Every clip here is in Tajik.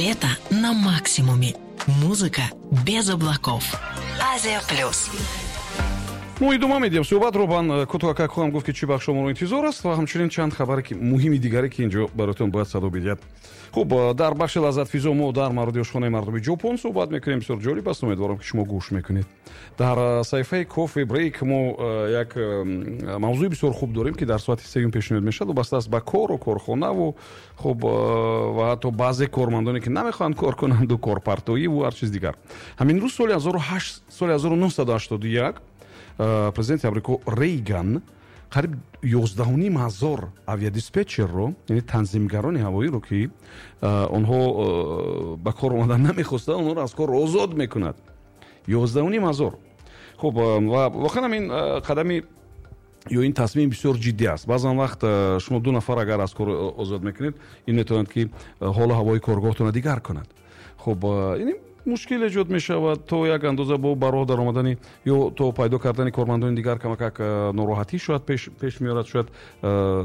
Лето на максимуме. Музыка без облаков. Азия Плюс. Мо идома медиҳем суҳбатро. Ман кӯтоҳ хоҳам гуфт, ки чӣ бахшо моро интизор аст ва ҳамчунин чанд хабаре ки муҳими дигаре, ки инҷо бароятон бояд садо бидиҳад. Хуб, дар бахши «Лаззатфизо» мо дар мавриди ошхонаи мардуми Ҷопон суҳбат мекунем. Бисёр ҷолиб аст, умедворам, ки шумо гӯш мекунед. Дар саҳифаи «Кофе брейк» мо як мавзӯи бисёр хуб дорем, ки дар соати сеюм пешниҳод мешавад, вобаста аст ба кору корхонаву, хуб, ва ҳатто баъзе кормандоне, ки намехоҳанд кор кунанду корпартоиву ҳар чиз дигар. Ҳамин рӯз, соли 1981, президенти Амрико Рейган қариб 11,5 ҳазор авиадиспетчерро, яъне танзимгарони ҳавоиро, ки онҳо ба кор омадан намехостанд, онҳоро аз кор озод мекунад. 11,5 ҳазор. Хуб, ва воқеан ин қадами ё ин тасмим бисёр ҷиддӣ аст. Баъзан вақт шумо ду нафар агар аз кор озод мекунед, ин метавонад, ки ҳолу ҳавои коргоҳтонро дигар кунад. Хуб, ин мушкил эҷод мешавад то як андоза, бо ба роҳ даромадани ё то пайдо кардани кормандони дигар камакак нороҳатӣ шояд пеш меорад, шояд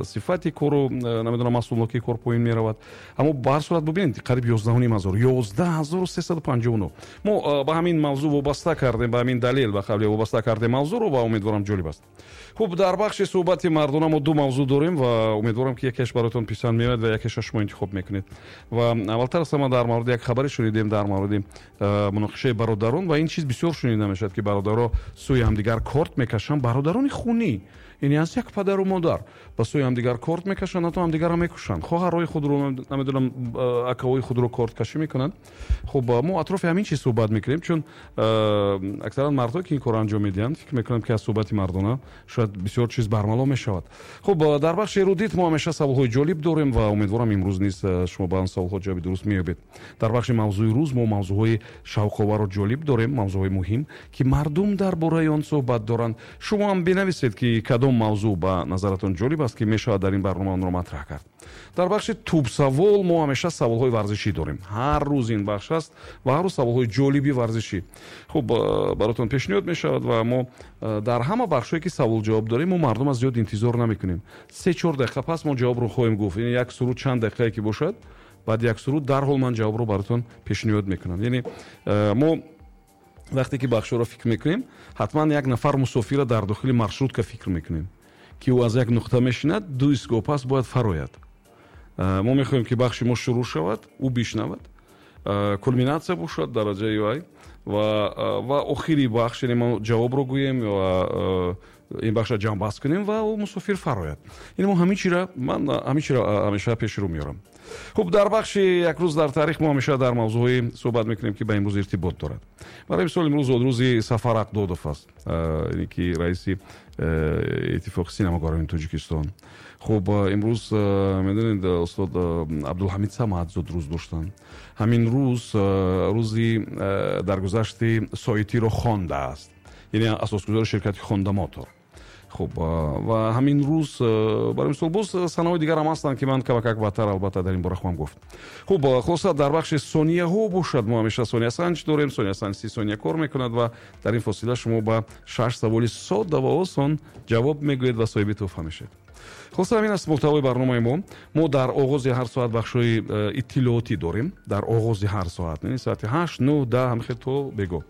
сифати кору, намедонам, маҳсулнокии кор поин меравад. Аммо ба ҳар сурат, бубинед, қариб 11,5 ҳазор, 11,359. Мо ба ҳамин мавзӯъ вобаста кардем, ба ҳамин далел, ба қавле, вобаста кардем мавзӯъро ва умедворам, ҷолиб аст. Хуб, дар бахши «Суҳбати мардона» мо ду мавзӯъ дорем ва умедворам, ки якеш бароятон писанд меояд ва якеша шумо интихоб мекунед. Ва аввалтар аз ҳама дар мавриди як хабаре шунидем, дар мавриди муноқишаи бародарон. Ва ин чиз бисёр шунида мешавад, ки бародаро сӯи ҳамдигар корт мекашанд, бародарони хунӣ, яъне аз як падару модар, ба сӯи ҳамдигар корт мекашанд, ҳатто ҳамдигарро мекушанд, хоҳарҳои худро, намедонам, акаҳои худро корткашӣ мекунанд. Хуб, мо атрофи ҳамин чиз суҳбат мекунем, чун аксаран мардҳое, ки ин корро анҷом медиҳанд, фикр мекунам, ки аз суҳбати мардона шояд бисёр чиз бармало мешавад. Хуб, дар бахши «Эрудит» мо ҳамеша саволҳои ҷолиб дорем ва умедворам, имрӯз низ шумо ба он саволҳо ҷавоби дуруст меёбед. Дар бахши «Мавзӯи рӯз» мо мавзӯъҳои шавқовару ҷолиб дорем, мавзӯъҳои муҳим, ки мардум дар бораи он суҳбат доранд. Шумо ҳам бинависед, ки кадом мавзӯъ ба назаратон ҷолиб аст, ки мешавад дар ин барнома онро матраҳ кард. Дар бахши «Тӯбсавол» мо ҳамеша саволҳои варзишӣ дорем. Ҳар рӯз ин бахш аст ва ҳар рӯз саволҳои ҷолиби варзишӣ, хуб, баротон пешниҳод мешавад. Ва мо дар ҳама бахшҳое, ки савол ҷавоб дорем, мо мардум аз зиёд интизор намекунем. 3-4 дақиқа пас мо ҷавобро хоҳем гуфт. Яъне як суруд чанд дақиқае ки бошад, баъд як суруд дарҳол ман ҷавобро баротон пешниҳод мекунам. Яъне мо вақте ки бахшҳоро фикр мекунем, ҳатман як нафар мусофира дар дохили маршрутка фикр мекунем, ки ӯ аз як нуқта мешинад, ду истгоҳ пас бояд фарояд. Мо мехоҳем, ки бахши мо шурӯъ шавад, ӯ бишнавад, кулминатсия бошад, дараҷаи вай ва охири бахш, яъне мо ҷавобро гӯем ва ин бахшро ҷамъбаст кунем ва ӯ мусофир фарояд. Яъне мо ҳамин чира, ман ҳамин чира ҳамеша пеши рӯ меорам. Хуб, дар бахши «Як рӯз дар таърих» мо ҳамеша дар мавзӯъҳое суҳбат мекунем, ки ба имрӯз иртибот дорад. Барои мисол, имрӯз рӯзи Сафар Ақдодов аст, яъне ки раиси Иттифоқи синамогарони Тоҷикистон. Хуб, имрӯз, медонед, устод Абдулҳамид Самад зодрӯз доштанд. Ҳамин рӯз рӯзи даргузашти Соитиро Хондааст, яъне асосгузори ширкати «Хонда Мотор». Хуб, ва ҳамин рӯз, барои мисол, боз санаҳои дигар ҳам ҳастанд, ки ман камакак баъдтар албатта дар ин бора хоҳам гуфт. Хуб, хулоса, дар бахши «Сонияҳо» бошад, мо ҳамеша сониясанҷ дорем. Сониясанҷ 30 сония кор мекунад ва дар ин фосила шумо ба шаш саволи содда ва осон ҷавоб мегӯед ва соҳиби тӯҳфа мешавед. Хулоса, ҳамин аст мӯҳтавои барномаи мо. Мо дар оғози ҳар соат бахшҳои иттилоотӣ дорем, дар оғози ҳар соат, яъне соати 8, 9, 10, ҳамхел то бего.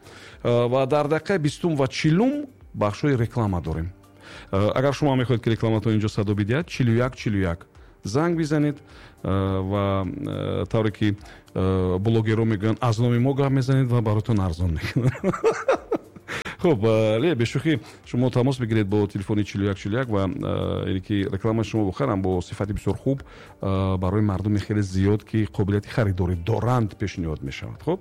Ва дар дақиқаи 20-ум ва 40-ум бахшҳои реклама дорем. Агар шумо мехоҳед, ки рекламатон инҷо садо бидиҳад, 41 41 занг бизанед ва тавре ки блогерро мегӯянд, аз номи мо гап мезанед ва баротон арзон мекунад. Хуб, ле бешӯхӣ, шумо тамос бигиред бо телефони 41 41 ва яъне ки рекламаи шумо воқеан бо сифати бисёр хуб барои мардуми хеле зиёд, ки қобилияти харидорӣ доранд, пешниҳод мешавад. Хуб,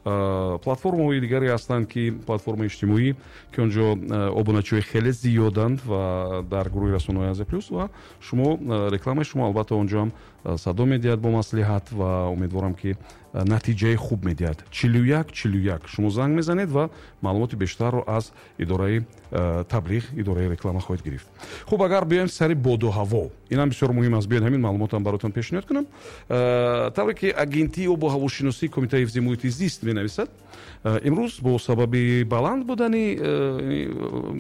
платформаҳои дигаре ҳастанд, ки платформаи иҷтимоӣ, ки он ҷо обуначиҳои хеле зиёданд ва дар гурӯҳи расонаҳои Азия Плюс, ва шумо рекламаи шумо албатта он ҷо ҳам садо медиҳад бо маслиҳат ва умедворам, ки натиҷаи хуб медиҳад. 41 41 шумо занг мезанед ва маълумоти бештарро аз идораи таблиғ, идораи реклама хоҳед гирифт. Хуб, агар биёем сари боду ҳаво, инам бисёр муҳим аст. Биёед, ҳамин маълумотам баротон пешниҳод кунам. Тавре ки Агентии обу ҳавошиносии Кумитаи ҳифзи муҳити зист менависад, имрӯз бо сабаби баланд будани,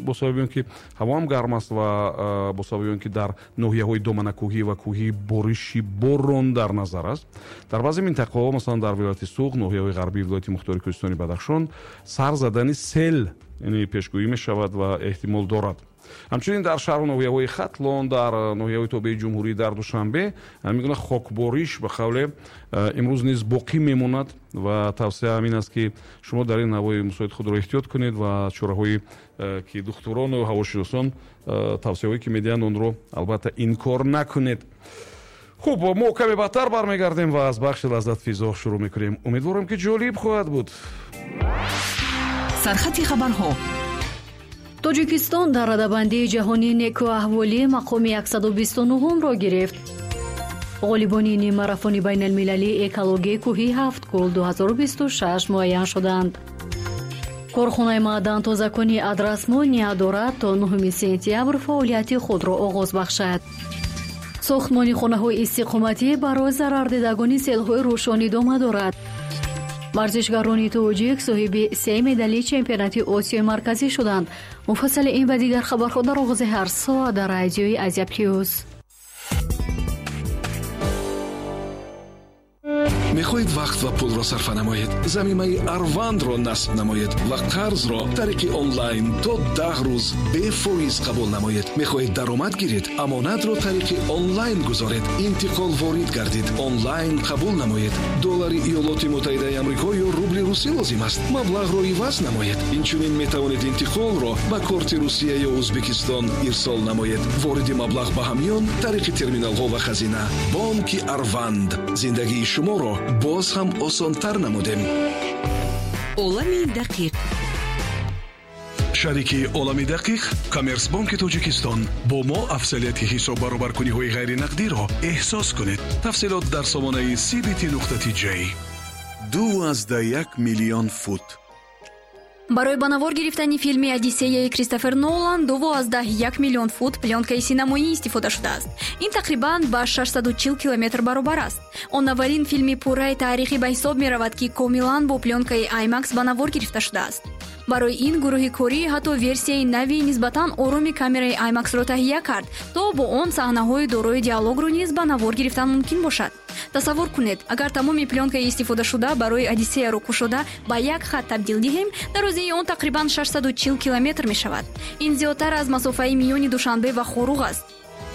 бо сабаби он ки ҳавоам гарм аст ва бо сабаби он ки дар ноҳияҳои доманакӯҳӣ ва кӯҳӣ бориши борон дар назар аст, дар баъзе минтақаҳо, масалан. Масалан, дар вилояти Суғд, ноҳияҳои ғарбии вилояти мухтори Кӯҳистони Бадахшон сар задани сел, яъне пешгӯӣ мешавад ва эҳтимол дорад. Ҳамчунин дар шаҳру ноҳияҳои Хатлон, дар ноҳияҳои тобеи ҷумҳурӣ, дар Душанбе ҳамин гуна хокбориш ба қавле имрӯз низ боқӣ мемонад ва тавсия ҳамин аст, ки шумо дар ин ҳавои мусоид худро эҳтиёт кунед ва чораҳое, ки духтурону ҳавошиносон тавсияҳое ки медиҳанд, онро албатта инкор накунед. Хуб, мо каме баъдтар бармегардем ва аз бахши Лаззатфизо шурӯъ мекунем. Умедворам, ки ҷолиб хоҳад буд. Сархати хабарҳо. Тоҷикистон дар радабандии ҷаҳонии некӯаҳволӣ мақоми 129-ро гирифт. Ғолибони ниммарафони байналмилалии экологии кӯҳии Ҳафткӯл 2026 муайян шуданд. Корхонаи маъдантозакунии Адрасмон ният дорад, то 9 сентябр фаъолияти худро оғоз бахшад. Сохтмони хонаҳои истиқоматӣ барои зарардидагони селҳои Рӯшон идома дорад. Варзишгарони тоҷик соҳиби се медали чемпионати Осиёи Марказӣ шуданд. Муфассали ин ва дигар хабарҳо дар оғози ҳар соат дар радиои Азия Плюс. Мехоҳед вақт ва пулро сарфа намоед? Замимаи Арвандро насб намоед ва қарзро тариқи онлайн то 10 рӯз бефоиз қабул намоед. Мехоҳед даромад гиред? Амонатро тариқи онлайн гузоред, интиқол ворид гардид, онлайн қабул намоед. Доллари Иёлоти Муттаҳидаи Амрико ё рубли русӣ лозим аст? Маблағро иваз намоед. Инчунин метавонед интиқолро ба корти Русия ё Ӯзбекистон ирсол намоед, вориди маблағ ба ҳамён тариқи терминалҳо ва хазина. Бонки Арванд: зиндагии шуморо боз ҳам осонтар намудем. Олами дақиқ. Шарики Олами дақиқ Коммерсбонки Тоҷикистон. Бо мо афзалияти ҳисоббаробаркуниҳои ғайринақдиро эҳсос кунед. Тафсилот дар сомонаи cbt.tj. 2,1 миллион фут. Барои ба навор гирифтани филми «Одиссеяи» Кристофер Нолан 2,1 миллион фут плёнкаи синамоӣ истифода шудааст. Ин тақрибан ба 640 километр баробар аст. Он аввалин филми пурраи таърихӣ ба ҳисоб меравад, ки комилан бо плёнкаи IMAX ба навор гирифта шудааст. Барои ин гурӯҳи корӣ ҳатто версияи нави нисбатан ороми камераи IMAX-ро таҳия кард, то бо он саҳнаҳои дорои диалогро низ ба навор гирифтан мумкин бошад. Тасаввур кунед, агар тамоми плёнкаи истифодашуда барои «Одиссеяро» кушода ба як хат табдил диҳем, дарозии он тақрибан 640 километр мешавад. Ин зиёдтар аз масофаи миёни Душанбе ва Хоруғ аст.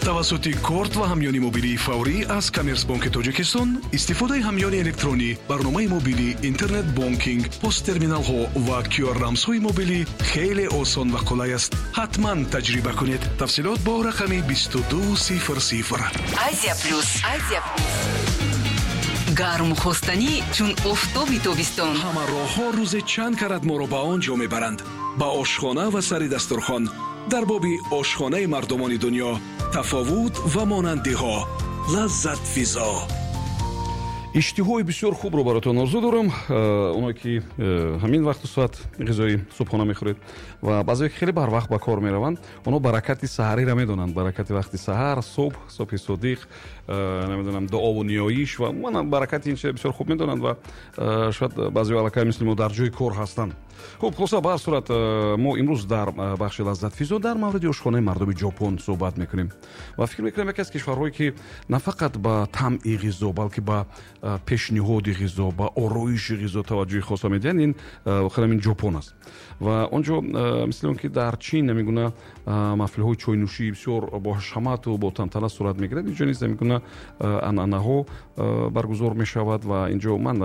Тавассути корт ва ҳамёни мобилии фаврӣ аз Коммерсбонки Тоҷикистон истифодаи ҳамёни электронӣ, барномаи мобилӣ, интернет бонкинг, посттерминалҳо ва QR рамзҳои мобилӣ хеле осон ва қулай аст. Ҳатман таҷриба кунед. Тафсилот бо рақами 2200. Азия Плюс, Азия Плюс. Гарму хостанӣ чун офтоби тобистон. Ҳама роҳҳо рӯзе чанд карат моро ба он ҷо мебаранд, ба ошхона ва сари дастурхон. Дар боби ошхонаи мардумони дунё, тафовут ва монандиҳо. Лаззатфизо. Иштиҳои бисёр хубро баротон орзу дорам. Оное ки ҳамин вақту соат ғизои субҳона мехӯред ва баъзее ки хеле барвақт ба кор мераванд, онҳо баракати саҳариро медонанд, баракати вақти саҳар, субҳ, субҳи содиқ, намедонам, дуову ниёиш ва умуман баракати ин чиза бисёр хуб медонанд ва шояд баъзеҳо аллакай мисли мо дар ҷои кор ҳастанд. Хуб, хулоса, ба ҳар сурат, мо имрӯз дар бахши Лаззатфизо дар мавриди ошхонаи мардуми Ҷопон суҳбат мекунем ва фикр мекунам, яке аз кишварҳое ки на фақат ба таъми ғизо, балки ба пешниҳоди ғизо, ба ороиши ғизо таваҷҷӯҳи хоса медиҳанд, ин воқеан ин Ҷопон аст. Ва он ҷо, мисли он ки дар Чин ҳамин гуна маҳфилҳои чойнӯшӣ бисёр бо ҳашамату бо тантана сурат мегирад, инҷо низ ҳамин гуна анъанаҳо баргузор мешавад. Ва инҷо ман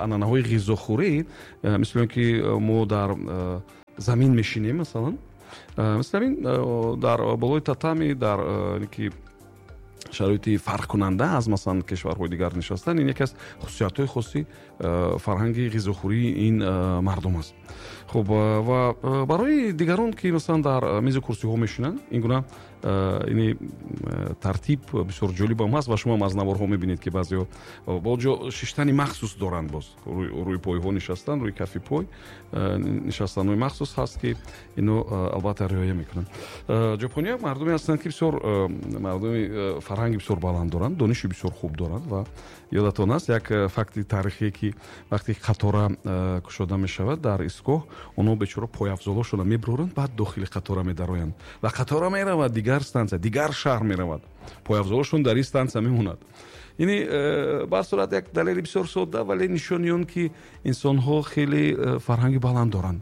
анъанаҳои ғизохӯрӣ, мисли он ки мо дар замин мешинем, масалан, мисли ҳамин дар болои татами, дар ки шароити фарқкунанда аз, масалан, кишварҳои дигар нишастан, ин яке аз хусусиятҳои хоси фарҳанги ғизохӯрии ин мардум аст. Хуб, ва барои дигарон ки, масалан, дар мизу курсиҳо мешинанд, ин гуна ини тартиб бисёр ҷолибам ҳаст ва шумо аз наворҳо мебинед, ки баъзеҳо бо ҷо шиштани махсус доранд, боз рӯи пойҳо нишастан, рӯи кафи пой нишастанҳои махсус ҳаст, ки ино албатта риоя мекунанд. Ҷопониё мардуме ҳастанд, ки бисёр мардуми фарҳанги бисёр баланд доранд, дониши бисёр хуб доранд. Ва ёдатон аст як факти таърихие, ки вақте қатора кушода мешавад дар истгоҳ, онҳо бечора пойафзолошонро мебуроранд, баъд дохили қатора медароянд ва қатора меравад, дигар. Дигар стансия, дигар шаҳр меравад, пойафзолашон дар ин стансия мемонад. Яъне ба ҳар сурат, як далели бисёр содда, вале нишони он, ки инсонҳо хеле фарҳанги баланд доранд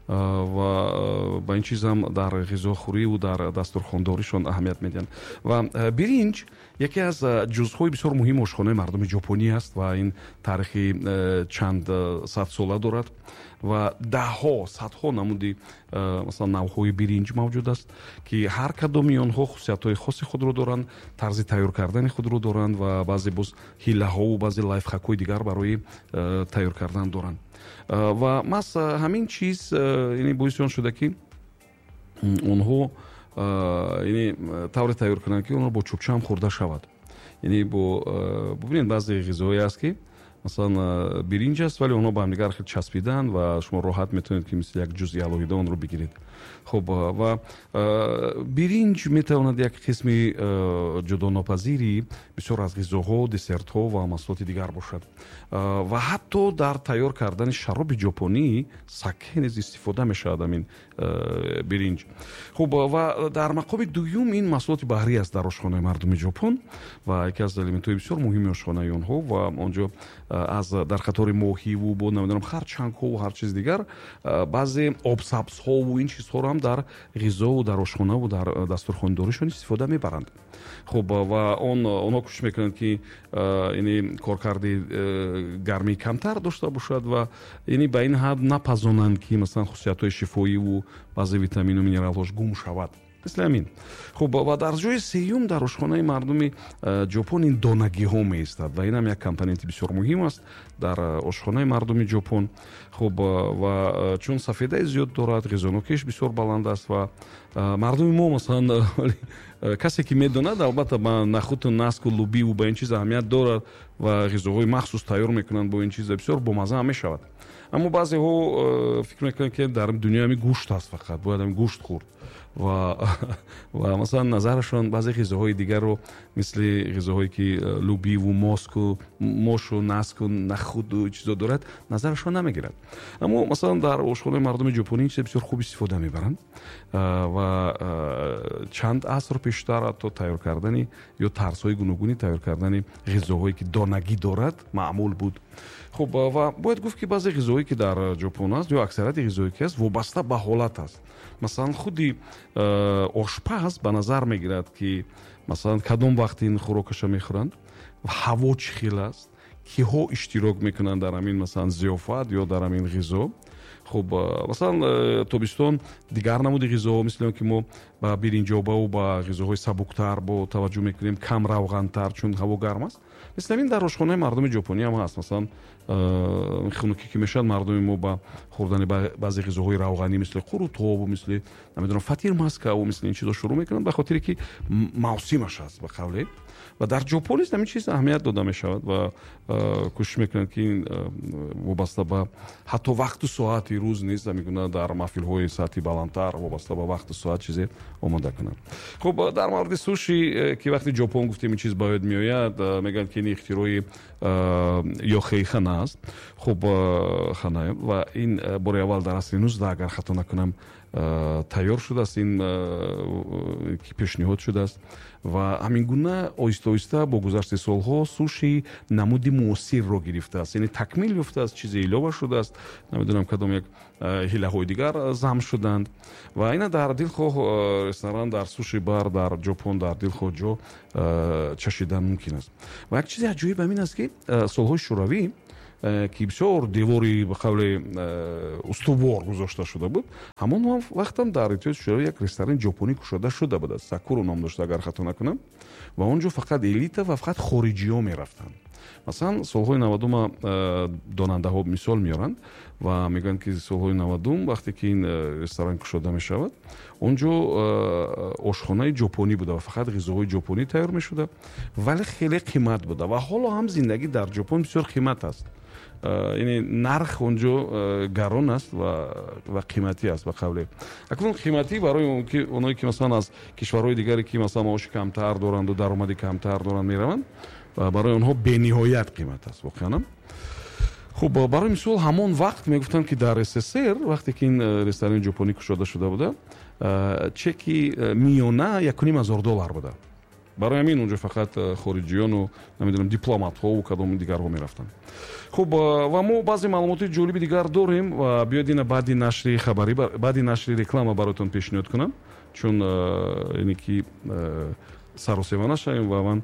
ва ба ин чизам дар ғизохӯриву дар дастурхондоришон аҳамият медиҳанд. Ва биринҷ яке аз ҷузъҳои бисёр муҳими ошхонаи мардуми ҷопонӣ аст ва ин таърихи чанд садсола дорад ва даҳҳо, садҳо намуди, масалан, навъҳои биринҷ мавҷуд аст, ки ҳар кадоми онҳо хусусиятҳои хоси худро доранд, тарзи тайёр кардани худро доранд ва баъзе боз ҳиллаҳову баъзе лайфхакҳои дигар барои тайёр кардан доранд. Ва маҳз ҳамин чиз, яъне, боиси он шуда, ки онҳо, яъне, тавре тайёр кунанд, ки онҳо бо чӯбчаам хӯрда шавад. Яъне бо, бубинед, баъзе ғизоҳое аст, ки масалан биринҷ аст, вале онҳо ба ҳамдигар хеле часпиданд ва шумо роҳат метавонед, ки мисли як ҷузъи алоҳида онро бигиред. Хуб, ва биринҷ метавонад як қисми ҷудонопазири бисёр аз ғизоҳо, десертҳо ва маҳсулоти дигар бошад ва ҳатто дар тайёр кардани шароби ҷопонӣ саке низ истифода мешавад ҳамин биринҷ. Хуб, ва дар мақоми дуюм ин маҳсулоти баҳрӣ аст дар ошхонаи мардуми Ҷопон ва яке аз элементҳои бисёр муҳими ошхонаи онҳо. Ва онҷо аз дар қатори моҳиву бо, намедонам, харчангҳову ҳар чиз дигар, баъзе обсабзҳову ин чизҳоро ҳам дар ғизову дар ошхонаву дар дастурхондоришон истифода мебаранд. Хуб, ва онҳо кӯшиш мекунанд, ки, яъне, коркарди гармӣ камтар дошта бошад ва, яъне, ба ин ҳад напазонанд, ки масалан хусусиятҳои шифоиву баъзе витамину минералҳош гум шавад, мисли ҳамин. Хуб, ва дар ҷои сеюм дар ошхонаи мардуми Ҷопон ин донагиҳо меистад ва инам як компоненти бисёр муҳим аст дар ошхонаи мардуми Ҷопон. Хуб, ва чун сафедаи зиёд дорад, ғизонокиш бисёр баланд аст. Ва мардуми мо, масалан, касе ки медонад, албатта, ба нахуту наску лубиву ба ин чиз аҳамият дорад ва ғизоҳои махсус тайёр мекунанд бо ин чиз, бисёр бомазза ҳам мешавад. Аммо баъзеҳо фикр мекунанд, ки дар дунё ҳами гӯшт аст, фақат бояд ҳами гӯшт хӯрд ва масалан назарашон баъзе ғизоҳои дигарро, мисли ғизоҳое ки лубиву моску, мошу, наску, нахуду чизо дорад, назарашон намегирад. Аммо масалан дар ошхонаи мардуми ҷопонӣ ин чиз бисёр хуб истифода мебаранд ва чанд аср пештар ҳатто тайёр кардани ё тарзҳои гуногуни тайёр кардани ғизоҳое ки донагӣ дорад, маъмул буд. Хуб, ва бояд гуфт, ки баъзе ғизоҳое ки дар Ҷопон аст ё аксарияти ғизоҳое ки аст, вобаста ба ҳолат аст. Масалан, худи ошпаз ба назар мегирад, ки масалан кадом вақт ин хӯрокаша мехӯранд, ҳаво чӣ хел аст, киҳо иштирок мекунанд дар ҳамин, масалан, зиёфат ё дар ҳамин ғизо. Хуб, масалан, тобистон дигар намуди ғизоҳо, мисли он ки мо ба биринҷобаву ба ғизоҳои сабуктар бо таваҷҷӯҳ мекунем, кам равғантар, чун ҳаво гарм аст. Мисли ҳамин дар ошхонаи мардуми ҷопонӣ ҳам ҳаст. Масалан, хунукӣ ки мешавад, мардуми мо ба хӯрдани баъзе ғизоҳои равғанӣ, мисли қурутобу, мисли, намедонам, фатир маскаву мисли ин чизо шурӯъ мекунанд, ба хотире ки мавсимаш аст, ба қавле. Ва дар Ҷопон низ ҳамин чиз аҳамият дода мешавад ва кӯшиш мекунанд, ки вобаста ба ҳатто вақту соати рӯз низ ҳамин дар маҳфилҳои сатҳи баландтар вобаста ба вақту соат чизе омода кунанд. Хуб, дар мавриди суши, ки вақти Ҷопон гуфтем, ин чиз ба ёд меояд, мегӯянд, ки ин ихтирои Ёхей Хана аст. Хуб, Хана, ва ин бори аввал дар асри 19, агар хато накунам, тайёр шудааст, ин ки пешниҳод шудааст. Ва ҳамин гуна оҳиста оҳиста бо гузашти солҳо суши намуди муосирро гирифтааст, яъне такмил ёфтааст, чизе илова шудааст, намедонам, кадом як ҳилаҳои дигар зам шуданд. Ва ина дар дилхоҳ ресторан, дар суши бар дар Ҷопон, дар дилхоҳ ҷо чашидан мумкин аст. Ва як чизи аҷоиб ҳамин аст, ки солҳои Шӯравӣ, ки бисёр девори, ба қавле, устувор гузошта шуда буд, ҳамон вақтам дар Иттиҳоди Шӯравӣ як ресторани ҷопонӣ кушода шуда буд, Сакуру ном дошта, агар хато накунам, ва он ҷо фақат элита ва фақат хориҷиҳо мерафтанд. Масалан, солҳои 90-ума донандаҳо мисол меоранд ва мегӯянд, ки солҳои 90-ум, вақте ки ин ресторан кушода мешавад, он ҷо ошхонаи ҷопонӣ буда ва фақат ғизоҳои ҷопонӣ тайёр мешуда, вале хеле қимат буда. Ва ҳоло ҳам зиндагӣ дар Ҷопон бисёр қимат аст, яъне нарх он ҷо гарон аст ва қиматӣ аст, ба қавле. Акнун қиматӣ барои оное ки масалан аз кишварҳои дигаре, ки масалан маоши камтар доранду даромади камтар доранд, мераванд, барои онҳо бениҳоят қимат аст воқеанам. Хуб, барои мисол, ҳамон вақт мегуфтанд, ки дар СССР, вақте ки ин ресторани ҷопонӣ кушода шуда буда, Чеки миёна $1,500 буда. Барои ҳамин онҷо фақат хориҷиёну, намедонам, дипломатҳову кадом дигарҳо мерафтанд. Хуб, ва мо баъзе маълумоти ҷолиби дигар дорем ва биёед ина баъди нашри хабарӣ, баъди нашри реклама бароятон пешниҳод кунам, чун ине ки саросема нашавем ва ман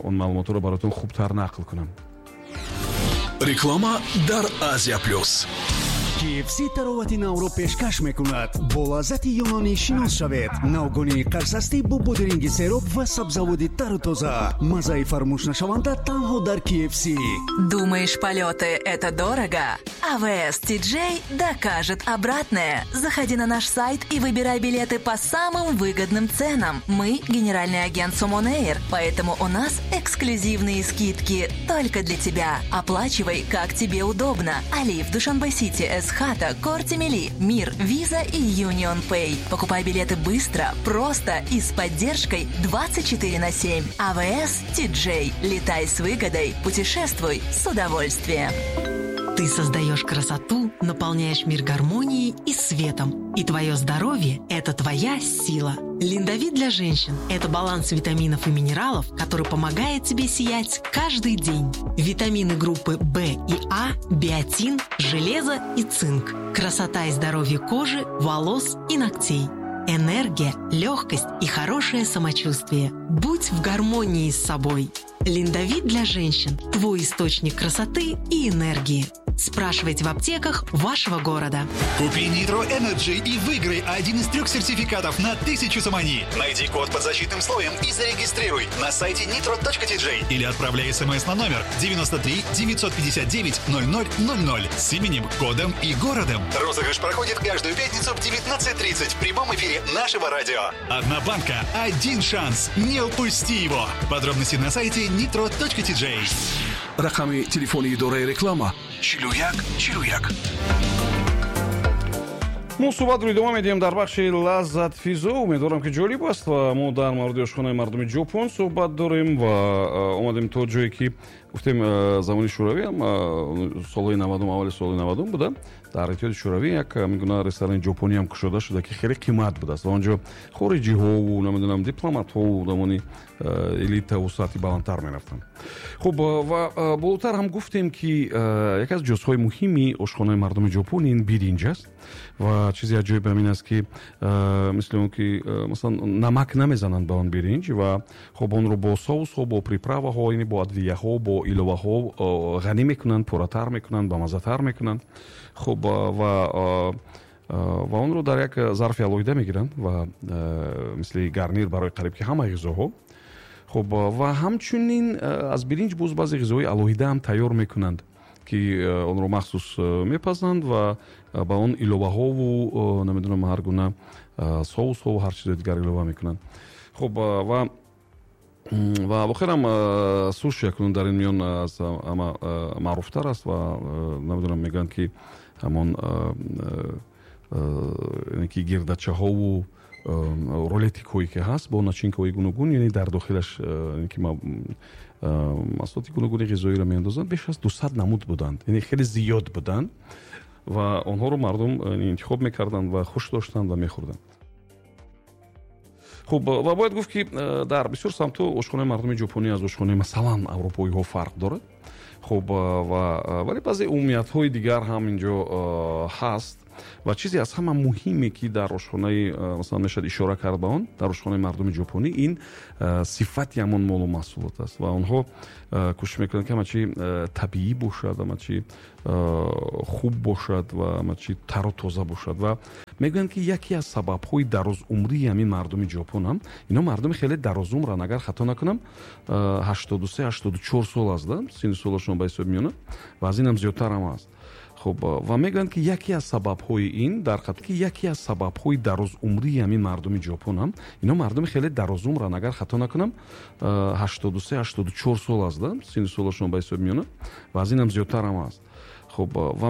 он маълумотҳоро бароятон хубтар нақл кунам. Реклама дар Азия Плюс. KFC таровати навро пешкаш мекунад. Бо лаззати юнонӣ шинос шавед. Навгонии қарсастӣ бо бодиринги сероб ва сабзаводи тару тоза. Маззаи фаромӯшнашаванда танҳо дар KFC. Думаешь, полеты – это дорого? АВС TJ докажет обратное. Заходи на наш сайт и выбирай билеты по самым выгодным ценам. Мы – генеральный агент Сомон Эйр, поэтому у нас эксклюзивные скидки только для тебя. Оплачивай, как тебе удобно. Алиф, Душанбе-Сити, Эсхата, Корти Мили, Мир, Виза и Юнион Pay. Покупай билеты быстро, просто и с поддержкой 24/7. АВС TJ. Летай с выгодой, путешествуй с удовольствием. Ты создаешь красоту, наполняешь мир гармонией и светом. И твое здоровье – это твоя сила. Линдовит для женщин – это баланс витаминов и минералов, который помогает тебе сиять каждый день. Витамины группы В и А, биотин, железо и цинк. Красота и здоровье кожи, волос и ногтей. Энергия, легкость и хорошее самочувствие. Будь в гармонии с собой. Линдовит для женщин – твой источник красоты и энергии. Спрашивайте в аптеках вашего города. Купи Nitro Energy и выиграй один из 3 сертификатов на 1000 сомони. Найди код под защитным слоем и зарегистрируй на сайте nitro.tj или отправляй смс на номер 93 959 0000 с именем, кодом и городом. Розыгрыш проходит каждую пятницу в 19:30 в прямом эфире нашего радио. Одна банка, один шанс. Не упусти его. Подробности на сайте nitro.tj. Рақами телефони идораи реклама 41 41. Мо суҳбатро идома медиҳем дар бахши лаззатфизо. Умедворам, ки ҷолиб аст ва мо дар мавриди ошхонаи мардуми Ҷопон суҳбат дорем ва омадем то ҷое, ки гуфтем, замони шӯравӣ ҳам, солҳои 90-ум, аввали солҳои 90-ум буда, дар Иттиҳоди Шӯравӣ як гуна ресторани ҷопонӣ ҳам кушода шуда, ки хеле қимат будааст ва онҷо хориҷиҳову, намедонам, дипломатҳову одамони элитаву сатҳи баландтар мерафтанд. Хуб, ва болотар ҳам гуфтем, ки яке аз ҷузъҳои муҳими ошхонаи мардуми ҷопон ин биринҷ аст ва чизи аҷоиб ҳамин аст, ки мисли он ки, масалан, намак намезананд ба он биринҷ ва хуб, онро бо соусҳо, бо приправаҳо, яъне бо адвияҳо, бо иловаҳо ғанӣ мекунанд, пурратар мекунанд, бамаззатар мекунанд. Хуб, ва онро дар як зарфи алоҳида мегиранд ва мисли гарнир барои қариб ки ҳамаи ғизоҳо. Хуб, ва ҳамчунин аз биринҷ боз баъзе ғизоҳои алоҳида ҳам тайёр мекунанд, ки онро махсус мепазанд ва ба он иловаҳову, намедонам, ҳар гуна соусҳову ҳар чизои дигар илова мекунанд. Хуб, ва охирам суши акнун дар ин миён аз ҳама маъруфтар аст ва, намедонам, мегӯянд, ки ҳамон ки гирдачаҳову рулетикҳое ки ҳаст бо начинкаҳои гуногун, яъне дар дохилаш ки маҳсулоти гуногуни ғизоиро меандозанд, беш аз 200 намуд буданд, яъне хеле зиёд буданд ва онҳоро мардум интихоб мекарданд ва хуш доштанд ва мехӯрданд. Хуб, ва бояд гуфт, ки дар бисёр самтҳо ошхонаи мардуми ҷопонӣ аз ошхонаи, масалан, аврупоиҳо фарқ дорад. Хуб, ва вале баъзе умумиятҳои дигар ҳам инҷо ҳаст ва чизе аз ҳама муҳиме, ки дар ошхонаи, масалан, мешавад ишора кард ба он дар ошхонаи мардуми ҷопонӣ, ин сифати ҳамон молу маҳсулот аст ва онҳо кӯшиш мекунанд, ки ҳама чи табиӣ бошад, ҳама чи хуб бошад ва ҳама чи тару тоза бошад. Ва мегӯянд, ки яке аз сабабҳои дарозумрии ҳамин мардуми ҷопон ҳам, ино мардуми хеле дарозумранд, агар хато накунам, 83 84 сол аст да синну солашон ба ҳисоб меёнад ва аз ин ҳам зиёдтар ҳам аст. Хуб, ва мегӯянд, ки яке аз сабабҳои ин дар ки яке аз сабабҳои дарозумрии ҳамин мардуми ҷопон ҳам, ино мардуми хеле дарозумранд, агар хато накунам, 83 84 сол аст да синну солашон ба ҳисоб меёнад ва аз ин ҳам зиёдтар ҳам аст. Хуб, ва